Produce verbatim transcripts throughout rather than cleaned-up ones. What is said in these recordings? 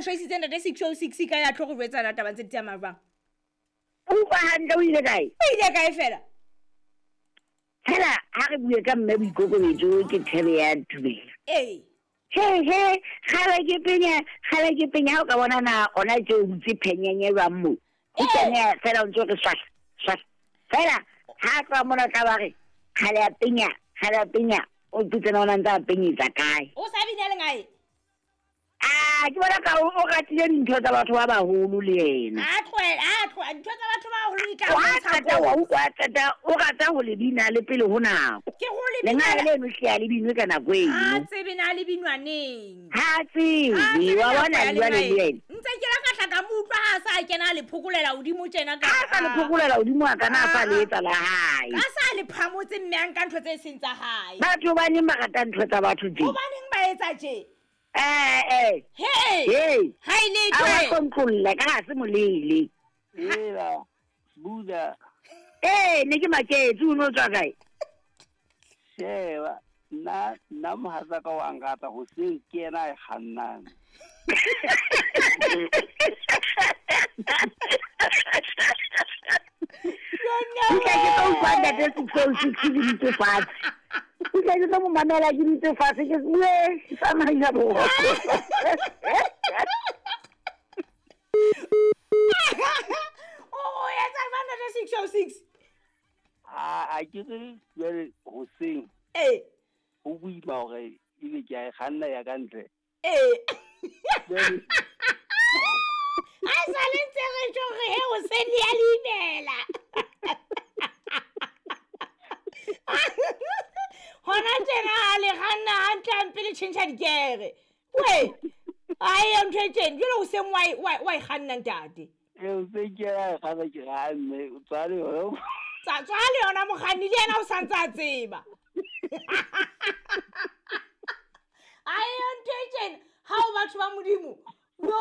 o shwaisitse ntate six oh six ka ya tlo go jwetsa na taba tse di tsamaya jwang. O utlwa hantle o ile kae? O ile kae fela? Fela ha re bue ka mme boikokobetso ke thebe ya tumelo. Ee. He he, kgale ke penya, kgale ke penya ha o ka bona na ona tje o butse phenyenye jwang moo. O kene fela o ntso re swahla, swahla. Fela ha tloha mona tla ba re kgale ya penya, kgale ya penya, o mpotse na ona ntse a penyetsa kae. O sa bina lengae? Ah, ke bona ka o ratile dintho tsa batho ba baholo le yena. A tlohela, a tlohela dintho tsa batho ba baholo di tla O qeta wa utlwa qeta o rata ho le bina le pele ho nako. Ke go le bina. Lengae leno hle a le binwe ka nako eno. Ha tsebe na le binwa neng. Ha tsebe, wa bona jwale le yena. Ntse ke la ka hla ka mo utlwa ha sa kena le phokolela hodimo tjena ka. Ha sa le phokolela hodimo a kana a sa le etsa la hae. Ka sa le phamotse mme a nka ntho tse seng tsa hae. Batho ba neng ba rata ntho tsa batho tje. Hobaneng ba etsa tje? Eh eh. Hey. Hey. Ha ile twe. A controlla ka ha se molele. Ela. Buda. Eh, ne ke maketse o no tswa kae? Sheba, nna nna mohatsa ka wa ngata hoseng ke yena a kgannang. Ke ke tlo utlwa ntate six oh six ke dutse fatshe. Ke ke tlo mo mamela ke dutse fatshe ke bue tsamaya bo. Oh, etsa jwang ntate six oh six? Ah, a ke re jwale hoseng. Eh. Ho boima hore ebe ke a e kganna ya ka ntle. Eh. A sa le ntse re tjho re he hoseng le ya le imela. Hona tjena ha le kganna hantle hampe le tjhentjha dikere. We. Ai ntho e tjena jwale hoseng wa wa wa e kganna ntate. Eh hoseng ke ya kganna ke ha mme o tswale yona. Tsa tswale yona mokganni le yena o sa ntse a tseba. Ai ntho e tjena ha o batho ba Modimo. No.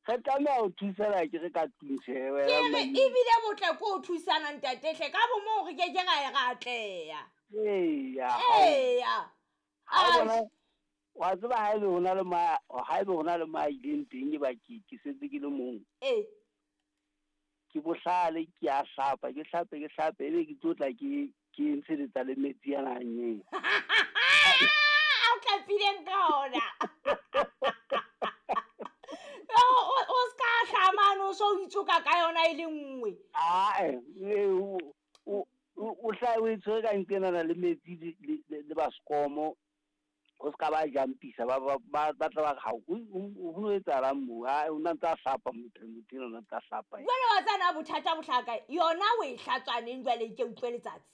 Re tlameha ho thusana ke re ka tlung tjhe wena. Ke re ebile botle ko o thusana ntate hle ka bo moo re ke ke ra e ra atleha. Eya. Eya. A wa tseba ha ebe hona le ma ha ebe hona le ma ileng teng e ba ke ke setse ke le mong. Eh. Ke bohlale ke a hlapa ke hlape ke hlape ebe ke tlotla ke ke ntsheletsa le metsi ana hanyeng. A o tlapileng ka ona. O o ska hlamano so o itsoka ka yona e le nngwe. Ah eh o o hla o itshwere ka nqenana le metsi le le baskomo o ska ba jampisa ba ba ba tla ba ha o ho etsahalang mo ha o ntse a hlapa motho motho o ntse a hlapa. Jwale wa tsana bothata bohlaka yona o e hlatswaneng jwale ke utlwe letsatsi.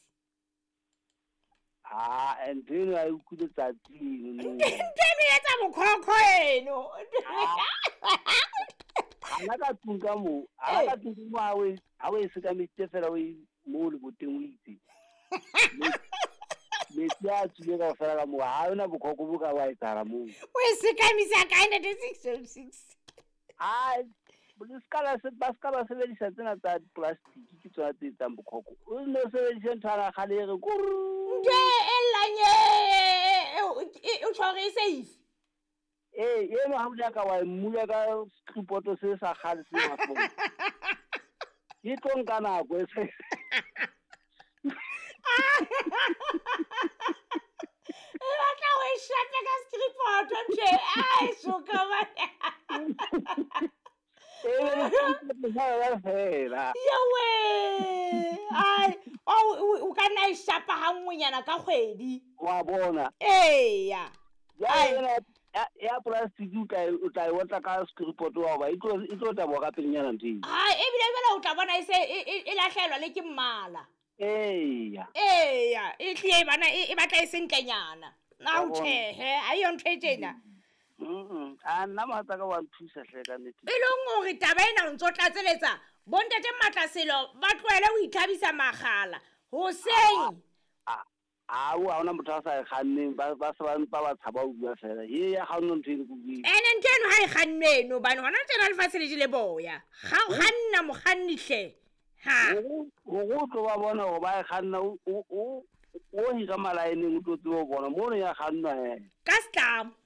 Ah, and then I utlwe letsatsi eno. Ntho eno e etsa bokhokho eno. Hana ka tlung ka moo, hana ka tlung mo ha o ha o e sekameditse fela o e mo leboteng o itse. Metsi a tswile kaofela ka moo, ha hona bokhokho bo ka wa etsahala moo. O e sekamisa kae ntate six oh six? Ah, le ska la se ba ska ba sebedisa tsena tsa plastic ke tsona tse etsang bokhokho. O no sebedise ntho ana kgale e re kurr. Ntho e llang e o tjho hore e safe. Eh, eno ha o ja ka wa mmula ka skripoto se sa kgale se mahlong. Ke tlo nka nako e se. E batla ho e shape ka skripoto ntho e. Ai soka ba. Fela. Yewe. Ai, o o ka nna e shapa ha nngwenyana ka kgwedi. Wa bona. Eya. Ya ya plastic o tla o tla e otla ka skripoto wa ba e tlo e tlo taboha ka pelenyana ntho eo. Ai, ebile jwale o tla bona e se e lahlelwa le ke mmala. Eya. Eya, e tlile bana e batla e sentlenyana. Na o tjhehe, ha eyo ntho e tjena. Mm, a nna mohatsa ka wa nthusa hle ka nnete. E leng hore taba ena o ntso tlatseletsa bontate Matlaselo ba tlohele ho ithabisa makgala hoseng. A o ha ona motho a sa e kganneng ba ba se ba mpa ba tshaba ho bua fela. Ye ya kganno ntho eno ke bue. Ene ntho eno ha e kgannwe eno hobane hona tjena lefatshe le jele boya. Ga o kganna mokganni hle. Ha. Hore o tlo ba bona hore ba e kganna o o o hira malaeneng o tlo tseba ho bona mono ya kgannwa he. Ka setlamo.